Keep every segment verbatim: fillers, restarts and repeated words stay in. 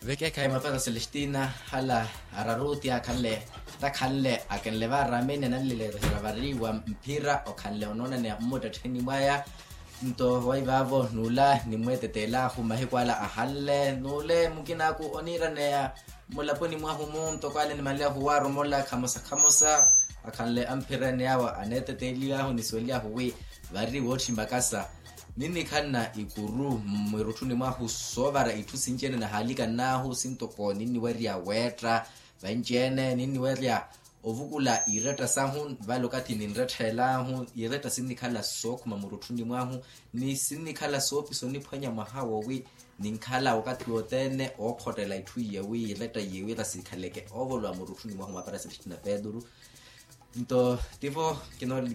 Vekeekhayi mapero celestina, hala araruti akhanle, takhanle akenle varameni ananleleherya vari wa mphira okhanle onoonaneya mmuttettheni mwaya. Nto waivaavo nula nimweeteteelahu mahiku ala ahanle nule mukinaaku oniiraneya mulaponi mwahu mu ntoko ale nimanleyahu waaromola khamosa khamosa. Akhanle amphira ene awo aneeteteeliyahu nisuweliyahu wi vari wootthima kasa. Ninnikhanna ikuru mmwirutthuni mwahu soovara itthu sinci ene nahaalikannaahu sintoko ninniwerya weetta vanci ene ninniwerya ovukula iretta sahu. Vale okathi ninrettheelahu iretta sinnikhala sookhuma murutthuni mwahu ni sinnikhala soopisa oniphwanya mwaha wowi ninkhala okathi wothene ookhottela itthu iye wi iretta iye wira sikhaleke oovolowa murutthuni mwahu mwa pareselestina peturu. Nto tivo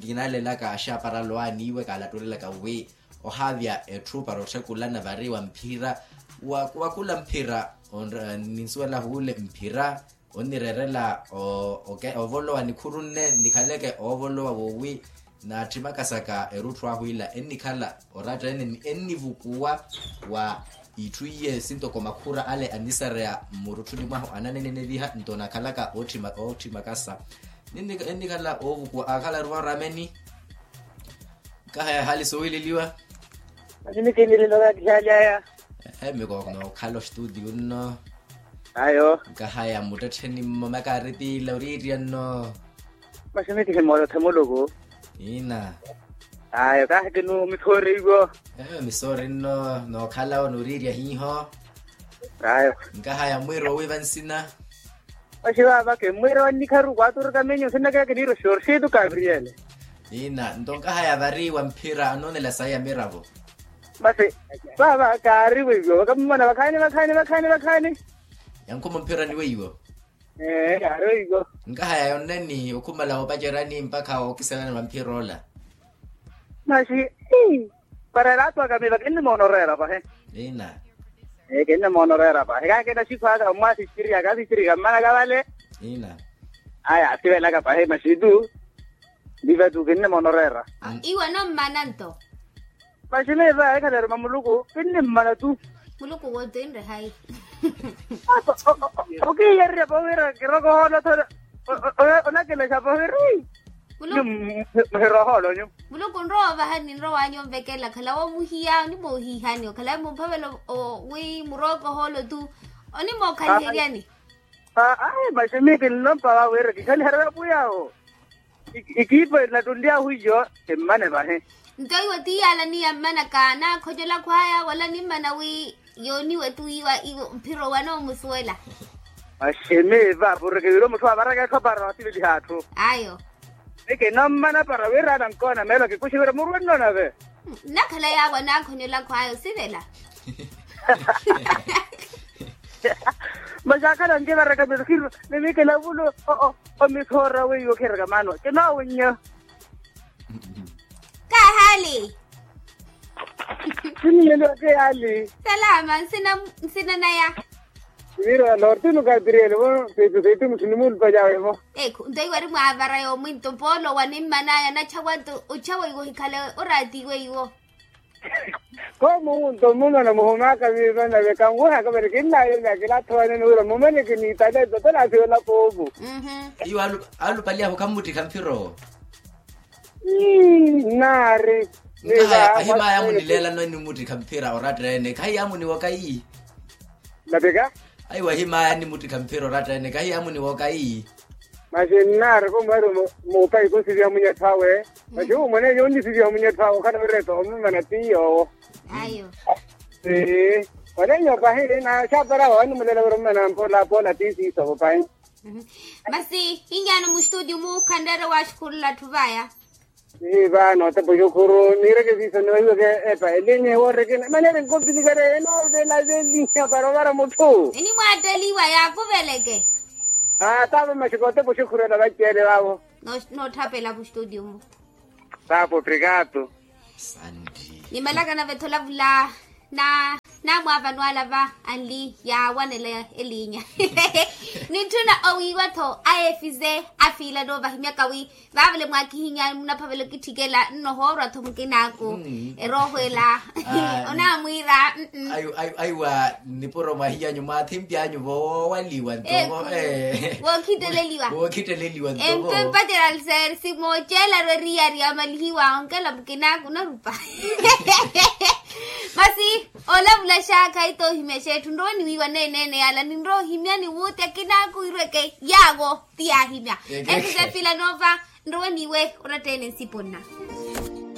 kinalelaka axaparalo aniiwe kaalatulelaka wi ohaavya etthu para otthakulana vari wa mphira wa kula mphira. Ninsuwela huule mphira onnireerela ovolowa nikhuru nne nikhaleke ovolowa wowi naatthimaka saka erutthu ahu ila ennikhala oratta ene ni ennivukuwa wa itthu iye sintoko makhura ale annisareya mmurutthuni mwahu ananene neviha nto nakhalaka ootthima kasa. Ennikhala oovukuwa akhala aruva orameni. Nkahaya hali sowileliwa. Masi mikinilelo kakihali aya. Ehe mikooko nookhala ostudio nno. Ayo. Nkahaya mmuttettheni mmomaka aritiila oriirya nno. Masi mikihi moolothe muluku. Ina. Ayo kahi kinu misoori iwo. Ehe misoori nno nookhala wo nooriirya hiiho. Ayo. Nkahaya mwiiro owiiva nsina. Oxi vaavake mmwiira wannikharu kwaaturika minyu nsinnakeya kiniira oxorxitu kavriyele. Ina nto nkahaya vari wa mphira anoonela sayi ya miravo. Masi vaava kaari weiwo vakammona vakhaani vakhaani vakhaani vakhaani. Yankhuma mphira ni weiwo. Ee kaari weiwo. Nkahaya yonneni okhumala woopacerani mpakha ookiselani wa mphira ola. Masi para elaatu aka miiva kinnimoona oreera pahi. Ina. Kinnimoona oreera pahi kaakina sikhu aka mmwasisiriyaka asisiriyaka mmanaka vale. Ina. Aya asivelaka pahi masi tu. Miiva tu kinnimoona oreera. Iwe nommana nto. Masi miiva ekhaleeruma muluku kinnimmana tu. Muluku wotinre hayi. Okiiyererya pahi wira kirokohoolo thole. Onakilexa pahi wira. Muhirohoolo nyu. Muluku nrowa ovahani nrowanyu onvekela okhala woomuhiya onimoohihani okhala mumphavela wi murookohoolo tu. Onimookhaliheryani. Ai masi miyo kinnompa vawe wira kikhaliherya pwiyawo. Ikiipa enattulyahu iyo. Emmane vahe. Nto iwe ti yaala ni yammanaka naakhonyolakhu aya wala nimmana wi yooniwe tu iwa iwo mphiro wanoomusuwela. Masi miiva pureke wira omutthu avaraka etthu apara wasiveliha atthu. Ayo. Ni kinommana para wira anankoona meelo kikuxiwira murwe nnoona ve. Nnakhala yaawo anaakhonyolakhu ayo sivela. Masi akhala nkivaraka misikhiru ni mikilavulu. Omithoora weiwo khiraka maano kinoowinnya. Kaahali. Sinilelo keyali. Salama nsina naya. Mira nortinu katiriyele vo. Seitu seitu mutthu nimulupalyawe vo. Ekhu nto iwe ari mwaavara yoomwinto poolo wanimmanaya nachawa nto ochawa iwo hikhale oraatiwe iwo. Koomu nto mmumana muhumaka miiva nave kanwihaka vale kinnayelya kilatthowanene wira mumane kiniitale nto tolaasiwela koomu. Iwo alupaliyahu khammuttikha mphira owo. Nnaari. Ahimaaya amunileelano enimuttikha mphira oratta ene khahiya amuniwoka iyi. Napika. Aiwa ahimaaya animuttikha mphira oratta ene khahiya amuniwoka iyi. Masi nnaari kumwari muupayi kunsivya munyettho awe. Masi umweneenya unnisiviha munyettho awe okhala wira etoomumana ti yoowo. Ayo. Ee. Oneenya opahi na xaapara awe animulela wira omumana mpola poola ti siisovo pahi. Masi inyaano mustudio mu khanreere waaxukhurula atthu vaya. Ii vaano otepa oxukhuru niireke siiso niweiweke epa elinya ewooreke mane eri nkopilikarya enoovela velinya para ovara mutthu. Enimwaatteliwa yaakuveleke. Aa taavo maxi kootepa oxukhuru ela vaceele vaavo. Nootthapela mustudio mu. Sapo obrigado. Nimalaka nave ethola vula. Naamwaavano alava anli yaawanela elinya. Nitthuna owiiwa-tho ayefize afiila noovahimyaka wi vaavale mwaakihinya munaphavela okitthikela nnohoorwa-tho mukinaaku. Eroohwela onaamwiira. Aiwa nipuro mwahiyanyu mwaathimpi anyu voowaliwa nto. Wookhitteleliwa. Wookhitteleliwa nto. Empe mpaterali seeri simooceelaru eriyari yamalihiwa onkela mukinaaku onarupa. Masi olavula xaakha itoohimya xeetthu nrowe niwiiwa neeneene yala ninrowa ohimya niwuuti akinaaku wirweke yaawo. Ti yaahimya. Ekise filanova nrowe niwe oratteene nsipo nna.